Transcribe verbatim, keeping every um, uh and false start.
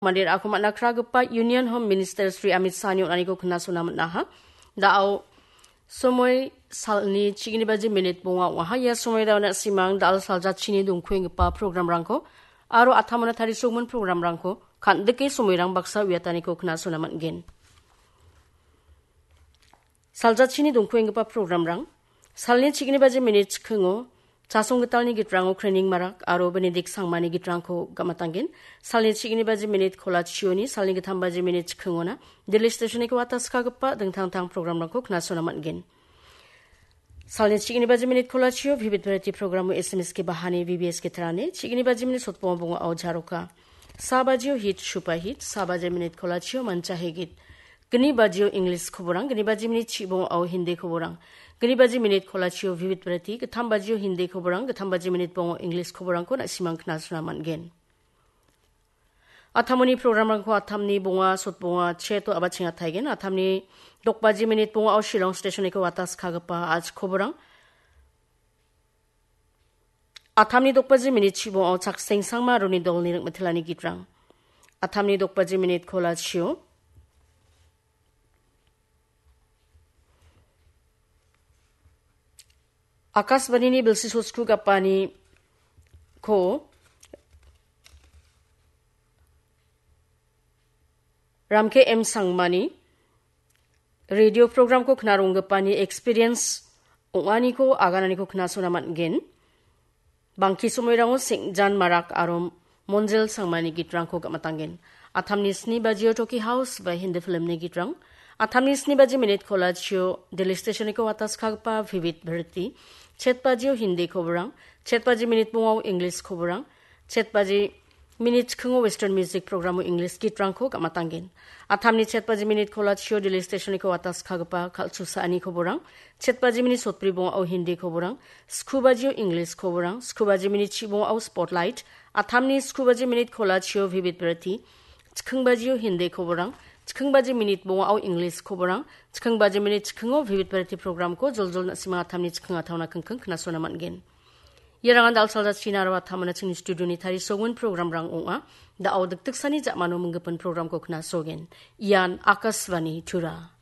Mandir ako man·a kragipa Union Home Minister Shri Amit Shahni on·aniko knasona man·aha. Da·o somoi salni chigni baji minit bonga ong·aha. Ia somoi daona simang dal saljachini dongkuenggipa programrangko aro atamona tarisokmon programrangko kan·dike somoirang baksa uiataniko knasona man·gen. Saljachini dongkuenggipa programrang. Salni chigni baji minit chikingo Chasong Gitalni gitrango Krening Marak aro Benedict Sangmani gitrangko gamatanggen. Salni chigni baji minit kolachioni, salni gittam baji minit chikingona Delhi Stationiko wataskagipa dingtang-tang programrangko knasona man·gen. Salni chigni baji minit kolachio Vivid Bharati programo S M S ke bahani V B S ke tarane, chigni baji minit sotbonga bonga au jaroka. Sa bajio hit, shupa hit, sa baji minit kolachio mancha hegit. Gni bajio English koborang, gni baji minit chibonga au Hindi koborang. Gni baji minit kolachio Vivid Bharati, gittam bajio Hindi koborang, gittam baji minit bongo English koborangko na·simang knasona man·gen. Atamoni programrangko atamni bonga, sotbonga, cheto abachenga taigen. Atamni dokbaji minit bonga au Shillong Stationiko wataskagipa aj koborang. Atamni dokbaji minit chibonga au Chakseng Sangma aroni dolni ringmitilani gitrang. Atamni dokbaji minit kolachio. Akashvanini bilsi sosku gapani ko Ramke M Sangmani radio programko knaronggipa ni experience ong·aniko agananiko knasona man·gen. Bangki somoirango Sengjan Marak aro Monjel Sangmani gitrangko gamatanggen. Atamni sni bajio Toki House ba Hindi filmni gitrang. Atamni sni baji minit kolachio Delhi Stationiko wataskagipa Vivid Bharati. Chet bajio Hindi koborang. Chet baji minit bongao English koborang. Chet baji minit chikingo Western Music programo English gitrangko gamatanggen. Atamni chet baji minit kolachio Delhi Stationiko wataskagipa kal·chusa ani koborang. Chet baji minit sotbri bongao Hindi koborang. Sku bajio English koborang. Sku baji minit chibongao Spotlight. Atamni sku baji minit kolachio Vivid Bharati. Chiking bajio Hindi koborang. Chiking baji minit bongao English koborang. Chiking baji minit chikingo Vivid Bharati programko joljol na·sima atamni chiking ataona kingking knasona man·gen. Iarangan dal salda china aro atamana chingni studioni tarisongon programrang ong·a. Da·o dikdiksani ja·mano minggipin programko knasogen. Ian Akashvani Tura.